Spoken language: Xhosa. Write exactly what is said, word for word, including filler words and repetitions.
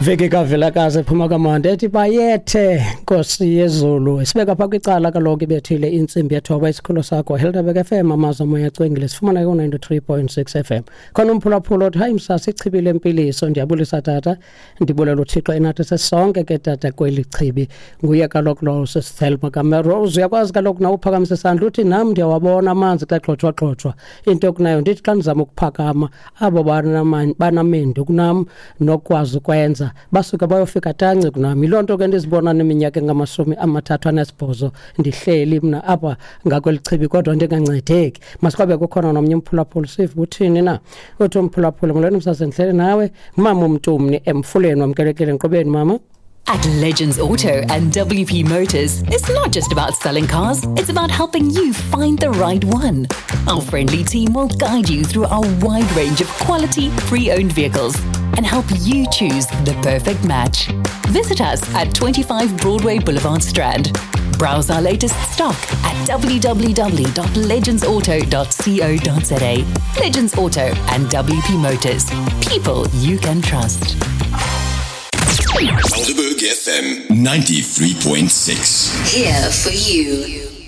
Veki kaVilakazi ephuma kamandi ethi bayethe Nkosi yezulu. Sibeka pha kwicala kaloku ibethile intsimbi yethoba. Isikhululo sakho Helderberg F M, amazwi omoya acwengile. Sifumana ku-ninety-three point six F M. Khona umphulaphula othi, "Hayi msasi, ichibi lempiliso. Ndiyabulisa tata, ndibulela uThixo enathi sesonke ke tata kweli chibi." Nguye kaloku lowo sisithelma kaMerose. Uyakwazi kaloku nawe uphakamisa isandla uthi, "Nam ndiyawabona amanzi xa xotshwa-xotshwa into kunayo." Ndithi xa ndizama ukuphakama, abo banamendu kunam nokwazi ukwenza basuke bayofika tanci kunam. Yiloo nto ke ndizibona neminyaka engamashumi amathathu anesibhozo ndihleli mna apha ngakweli chibi kodwa ndingancedeki. Masikwabe kukhona nomnye umphulaphuli, sive uthini na. Uthi umphulaphuli, "Molweni msase, ndihleli nawe mama umntumni emfuleni." Wamkelekile enkqubeni, mama. At Legends Auto and W P Motors, it's not just about selling cars, it's about helping you find the right one. Our friendly team will guide you through our wide range of quality, pre owned vehicles and help you choose the perfect match. Visit us at twenty-five Broadway Boulevard, Strand. Browse our latest stock at w w w dot legendsauto dot co dot za. Legends Auto and W P Motors. People you can trust. Helderberg F M ninety-three point six. Here for you.